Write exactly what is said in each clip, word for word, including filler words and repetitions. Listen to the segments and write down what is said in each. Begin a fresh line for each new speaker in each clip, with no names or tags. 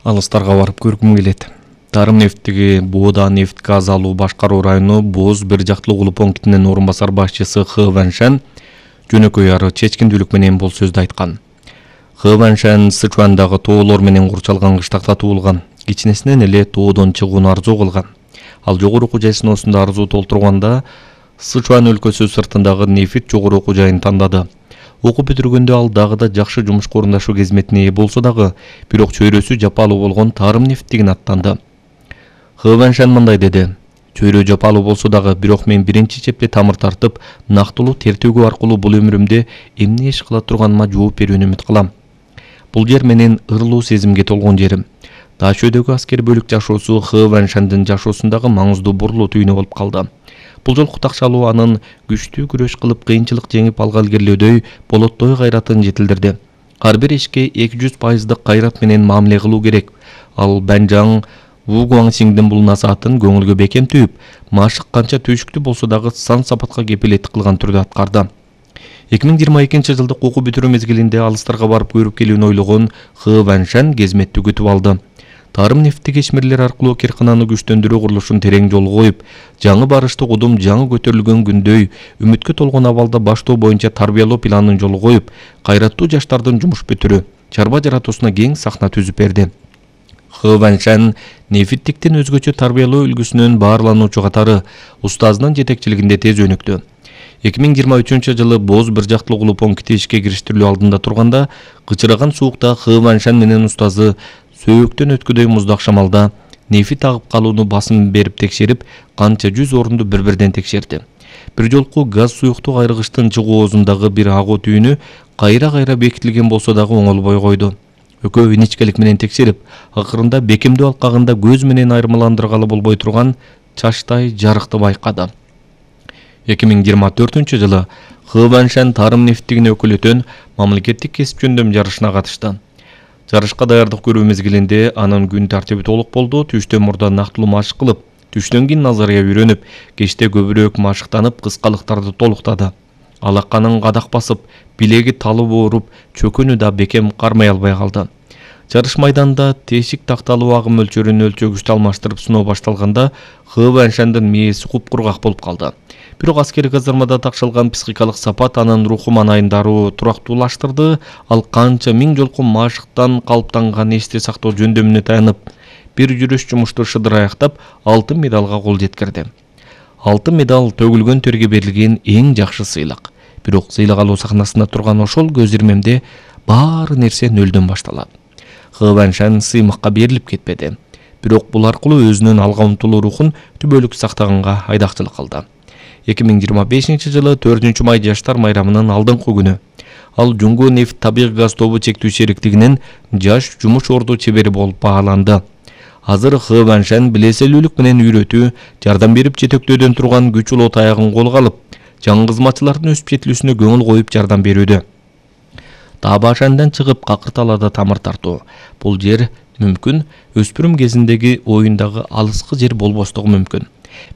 алыстарга барып көргүм келет. Тарым нефтиги Боода нефт газ алуу башкаруу району Боз бир жактылуу кылуу пунктинин орун басар башчысы Хы Ваншан жөнөкөй ары чечкиндүүлүк менен бул сөздү айткан. Хы Ваншан Сычуандагы тоолор менен курчалган кыштакта туулган. Кичинесинен эле тоодон чыгууну арзуу кылган. Ал жогору окуу жай сыноосунда арзуу толтурганда Сычуан өлкөсү сыртындагы нефит жогору окуу жайын тандады. Окуп бүтүргөндө ал дагы да жакшы жумушка орундашуу кызметине ээ болсо дагы, бирок чөйрөсү жапалуу болгон тарым нефтигин аттанды. Хы Ваншан мындай деди: "Чөйрө жапалуу болсо дагы, бирок мен биринчи чепте тамыр тартып, нактылуу тертөөгө аркылуу бул өмүрүмдө эмне иш кыла турганыма жооп берүүнү үмүт кылам. Бул жер менин ырлуу сезимге толгон жерим." Дачөдөгү аскер бөлүк жашоосу Хы Ваншандын жашоосундагы маңыздуу бурлуу түйүнү болуп калды. Бул жолку такшалуу анын күчтүү күрөш кылып кыйынчылык жеңип алга илгерилөөдөй болоттой кайратын жетилдирди. Ар бир ишке эки жүз пайыздык кайрат менен мамиле кылуу керек. Ал Банжаң Ву Гуаңсиңдин бул насаатын көңүлгө бекем түйүп, машык канча төшүктүү болсо дагы сан сапатка кепилеттик кылган түрдө аткарды. эки миң жыйырма экинчи жылдык окуу бүтүрүү мезгилинде алыстарга барып көрүп келүүнү ойлогон Хы Ваншан кезметтүү күтүп алды. Тарым нефтик ишмерлер аркылуу киркананы күчтөндүрүү курулушун терең жолго коюп, жаңы барыштык удум жаңы көтөрүлгөн күндөй үмүткө толгон абалда баштоо боюнча тарбиялоо планын жолго коюп, кайраттуу жаштардын жумуш бүтүрүү, чарба жаратуусуна кең сахна түзүп берди. Хы Ваншан нефиттиктин өзгөчө тарбиялоо үлгүсүнүн баарлануучу катары устазынын жетекчилигинде тез өнүктү. эки миң жыйырма үчүнчү жылы Боз бир жактылуу кылуу пункти ишке кириштирилүү алдында турганда, кычыраган суукта Хы Ваншан менен устазы сөөктөн өткүдөй муздак шамалда нефит агып калууну басым берип текшерип, канча жүз орунду бир-бирден текшерди. Бир жолку газ суюктук айрыгычтын чыгуу оозундагы бир агуу түйүнү кайра-кайра бекитилген болсо дагы оңолбой койду. Экөө иничкелик менен текшерип, акырында бекемдөө алкагында көз менен айырмаландыргалы болбой турган чачтай жарыкты байкады. эки миң жыйырма төртүнчү жылы Хы Ваншан тарым нефтигине өкүлөтөн мамлекеттик кесип жөндөм жарышына катышты. Жарышка даярдык көрүү мезгилинде анын күн тартиби толук болду. Түштөн мурда нактылуу машык кылып, түштөн кийин назария үйрөнүп, кечте көбүрөөк машыктанып, кыскалыктарды толуктады. Алаканын кадак басып, билеги талып ооруп, чөкөнү да бекем кармай албай калды. Жарыш майданында тешик такталуу агым мөлчөрүн өлчөгүчтө алмаштырып сыноо башталганда Хы Ваншандын мээси куп-кургак болуп калды. Бирок аскери казармада такшалган психикалык сапат анын руху маанайын дароо турактуулаштырды. Ал канча миң жолку машыктан калыптанган эсте сактоо жөндөмүнө таянып, бир жүрүш жумушту шыдыр аяктап, алтын медалга кол жеткирди. Алтын медал төгүлгөн терге берилген эң жакшы сыйлык. Бирок сыйлык алуу сахнасында турган ошол көз ирмемде баары нерсе нөлдөн башталат. Хы Ваншан сыймыкка берилип кетпеди. Бирок бул аркылуу өзүнүн алга умтулуу рухун түбөлүк сактаганга айдакчылык кылды. эки миң жыйырма бешинчи жылы төртүнчү май жаштар майрамынын алдыңкы күнү ал Жуңгу нефт табигый газ тобу чектүү шериктигинин жаш жумуш орду чебери болуп бааланды. Азыр Хы Ваншан билеселүүлүк менен үйрөтүү, жардам берип жетектөөдөн турган күч улуу таягын колго алып, жаңы кызматчылардын өсүп жетилүүсүнө көңүл коюп жардам берүүдө. Табашандан чыгып Какырталада тамыр тартуу. Бул жер мүмкүн өспүрүм кезиндеги оюндагы алыскы жер болбостугу мүмкүн.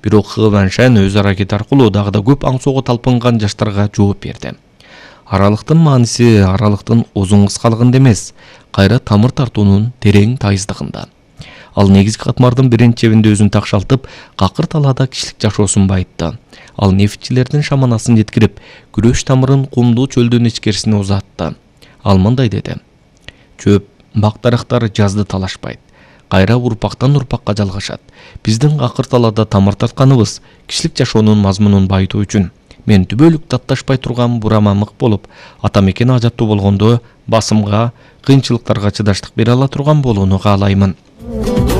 Бирок Хы Ваншан өз аракети аркылуу дагы да көп аңсоого талпынган жаштарга жооп берди. Аралыктын мааниси аралыктын узун кыскалыгында эмес, кайра тамыр тартуунун терең тайыздыгында. Ал негизги катмардын биринчи чебинде өзүн такшалтып, Какырталада кишилик жашоосун байытты. Ал нефтчилердин шаманасын жеткирип, күрөш тамырын кумдуу чөлдүн ичкерисине узатты. Ал мындай деди: "Чөп, бак дарактар жазды талашпайт. Кайра урпактан урпакка жалгашат. Биздин Какырталада тамыр тартканыбыз кишилик жашоонун мазмунун байытуу үчүн. Мен түбөлүк датташпай турган бурама мык болуп, ата мекен ажаттуу болгондо басымга, кыйынчылыктарга чыдаштык бере ала турган болууну каалаймын."